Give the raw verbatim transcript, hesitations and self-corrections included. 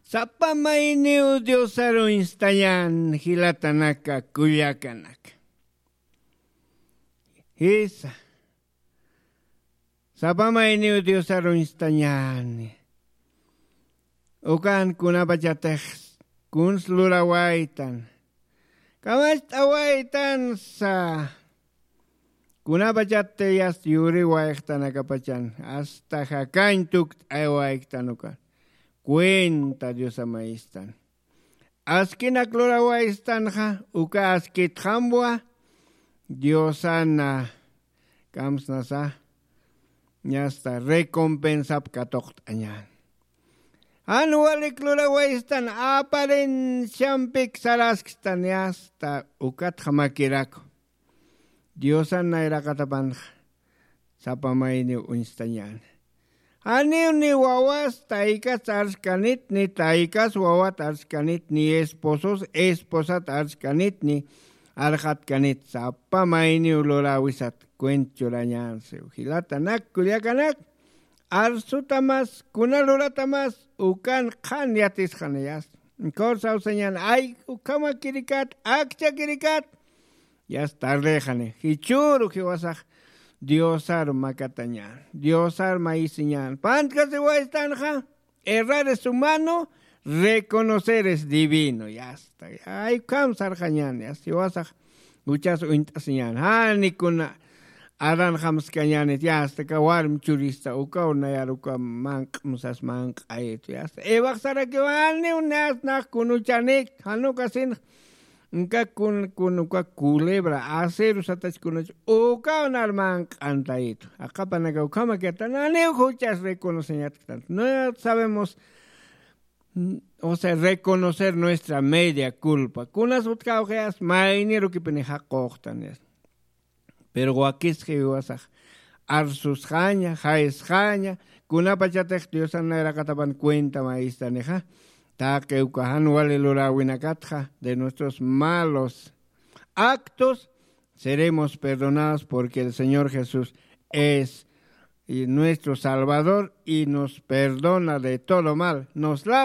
Sapa mayniw diosaruñstañan jilatanaka kullakanaka. Jisa. Sapa mayniw diosaruñstañani. Ukan kunapachatix kuns lurawaytan, kamacht'awaytansa. Kunapachat yasta yuriwayxtanakapachan asta jakañ tukt'aywayxtan ukan. Cuenta diosamayistan. Askinak lurawaystanxa uka askitxamwa diosana kamsnasa. Ñasta recompensap katuqt'añan. Jan walik lurawaystan aparenciampik sarasktan yasta ukatxa makiraku. Diosan nayraqatapanxa sapa mayniw uñstañäni. Janiw ni wawas taykas arskanit ni taykas wawat arskanit ni esposos esposat arskanit ni arxatkanit sapa mayniw luräwisat. Cuent churañänsiw jilatanak kullakanak. Arsutamas kuna luratamas ukan qhan yatisxanayas. Kawsawsañan ay ukhamakirikat akchakirikat. Yas tardexani jichhüru jiwasax diosaru makatañän diosaru mayisiñän pantkasiwaystanxa. Errar es humano, reconocer es divino yasta. Ay ukham sarxañän yasta jiwasax juchas uñt'asiñän jani kuna adan jamskañänit yasta ka warmi churista ukaw nayar uka manq'msas manq'ayitu yasta evax sarakiw janiw nayas nax kunuchanik janukasinx. Nka kun kun uka culebra aceru satach kunach ukaw nar manq'antayitu. Aqapanaka ukhamakatan janiw juchas reconoceñatktan no sabemos. O sea reconocer nuestra media culpa kunas utkawxayas maynirukipini jaqoxtan yasta. Pero wakisxiwiwasax arsusxaña jaysxaña kunapachatix diosan nayraqatapan cuenta mayistanixa. Taqi uka jan wali luräwinakatxa de nuestros malos actos seremos perdonados porque el señor jesús es nuestro salvador y nos perdona de todo mal nos lava.